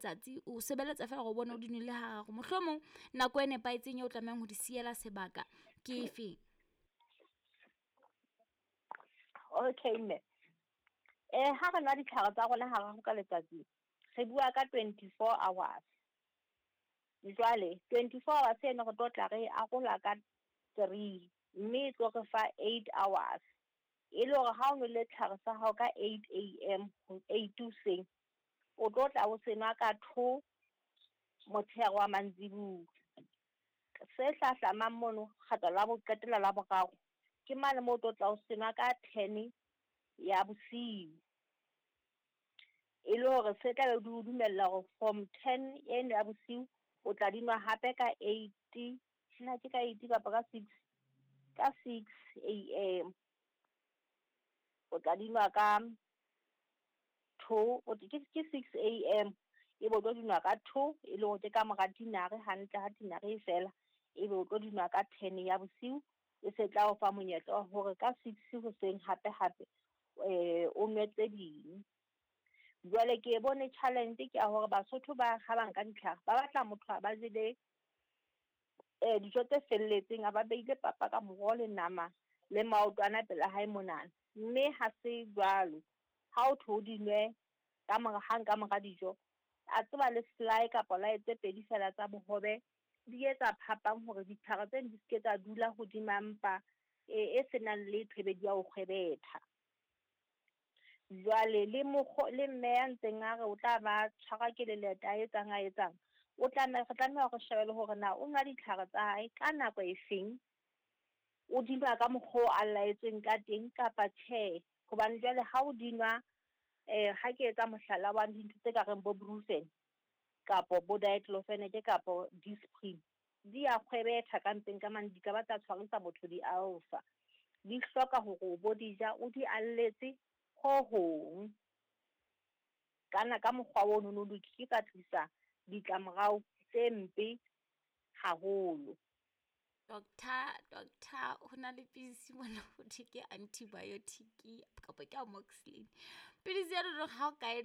Tsatsi o sebeletsa feela gore o bone o di nwele hararo. Mohlomong nako e nepahetseng eo o tlamehang ho di siela sebaka ke efeng? Okay mme, ha re nwa ditlhare tsa rona hararo ka letsatsi, re bua ka 24 hours. Jwale 24 hours eno re tlo tla re arola ka 3, mme e tlo re fa 8 hours. E le hore ha o nwele tlhare sa hao ka 8 AM, 8 hoseng, o tlo tla o se nwa ka 2 motshehare wa mantsibuya. Se hlahlamang mono, kgetlo la bo qetela la boraro, ke mane moo o tlo tla o se nwa ka 10 ya bosiu. E le hore se tla be di o dumella hore from 10 eno ya bosiu, o tla di nwa hape ka 8, na ke ka 8 kapa ka 6, ka 6 AM. O tla di nwa ka 2, ke 6 AM, ebe o tlo di nwa ka 2, e le hore ke ka mora tinare hantle ha tinare e fela, ebe o tlo di nwa ka 10 ya bosiu, e se tla o fa monyetla wa hore ka 6 hoseng hape hape, o nwe tse ding. Jwale ke e bone challenge ke ya hore Basotho ba ha ba nka ditlhare, ba batla motho a ba jele dijo tse felletseng, a ba beile papa ka moroho le nama le maotwana pela hae monana. Mme ha se jwalo, ha o thwe o di nwe ka mora, hang ka mora dijo, a tseba le slaai kapa lae tse pedi fela tsa bohobe, di etsa phapang hore ditlhare tseno di seke tsa dula hodima mpa e senang letho ebe di ya o kgwebetha. Jwale le mokgo, le mme ya ntseng a re o tla ba tshwarwa ke leleta a etsang a etsang, o tlameha, re tlameha hore shebe le hore na o nwa ditlhare tsa hae ka nako e feng, o di nwa ka mokgwa o a laetsweng ka teng kapa tjhe. Hobane jwale ha o di nwa, ha ke etsa mohlala wa dintho tse ka reng bo Brufen kapo bo Diclofenac kapo Disprin, di a kgwebetha ka mpeng ka mane, di ka ba tsa tshwarisa motho di-ulcer. Di hloka hore o bo di ja, o di alletse ho hong. Kana ka mokgwa ono no di ke tsa tlisa ditlamorao tse mpe haholo. Doctor, ho na le pidisi mona ho thwe ke antibiotic kapa ke amoxicillin. Pidisi ya rona ha o ka e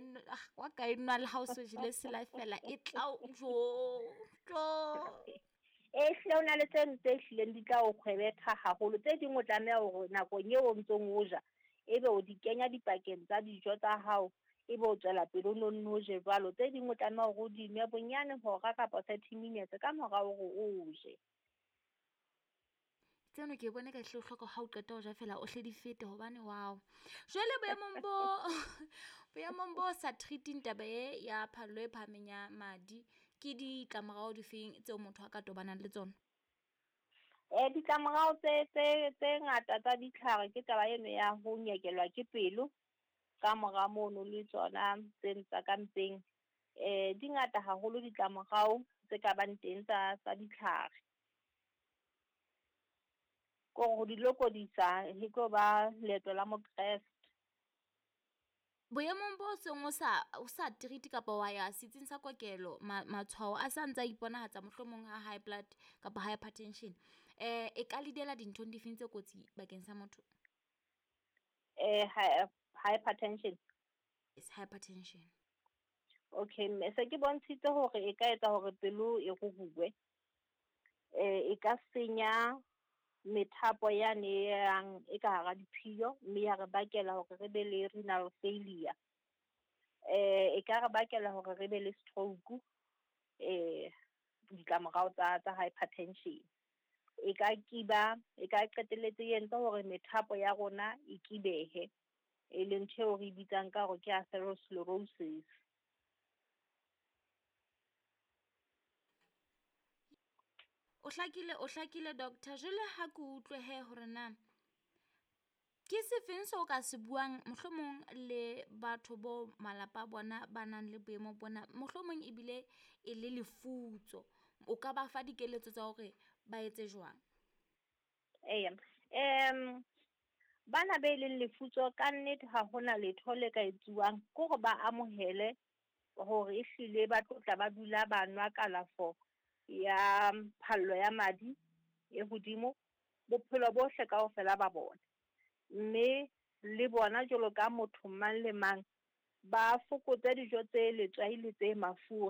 wa ka e nwa le ha o so jele selae fela e tla o jo, jo. E hlile ho na le tse tse hlileng di tla o kgwebetha haholo. Tse ding o tlameha hore nakong eo o ntsong o ja, ebe o di kenya dipakeng tsa dijo tsa hao, ebe o tswela pele o nonne o je jwalo. Tse ding o tlameha hore o di nwe bonyane hora kapa 30 minutes ka mora hore o je. Tseno ke bone ka hle o hloka ha o qeta ho ja fela o hle di fete hobane wow. Jwale boemong bo boemong bo sa treating taba e ya phallo e phahameng ya madi, ke ditlamorao difeng tseo motho a ka tobanang le tsona? Ditlamorao tse ngata tsa ditlhare ke taba eno ya ho nyekelwa ke pelo, ka mora mono le tsona tse tsa ka mpeng. Di ngata haholo ditlamorao tse ka bang teng tsa ditlhare. Kore ho di lokodisa e tlo ba leeto la Mokreste. Boemong bo seng o sa treat kapa wa ya setsing sa kokelo, matshwao a sa ntse a iponahatsa mohlomong a high blood kapa hypertension, e ka lead-ela dinthong difeng tse kotsi bakeng sa motho? Hypertension. Yes, hypertension. Okay, mme se ke bontshitse hore e ka etsa hore pelo e ruruwe. E ka senya methapo yane e yang e ka hara diphiyo, mme ya re bakela hore re be le renal failure. E ka re bakela hore re be le stroke, ditlamorao tsa hypertension. E ka kiba, e ka qetelletse e entse hore methapo ya rona e kibehe, e leng ntho eo re bitsang ka hore ke atherosclerosis. O hlakile doctor. Jwale ha ke utlwe he hore na ke sefeng seo ka se buang mohlomong le batho bo malapa a bona ba nang le boemo bona, mohlomong ebile e le lefutso, o ka ba fa dikeletso tsa hore ba etse jwang? Eya, bana be leng lefutso ka nnete ha hona letho le ka etsuwang, ke hore ba amohele hore ehlile ba tlo tla ba dula ba nwa kalafo ya phallo ya madi e hodimo bophelo bohle kaofela ba bona. Mme le bona jwalo ka motho mang le mang, Ba fokotse dijo tse letswai le tse mafura.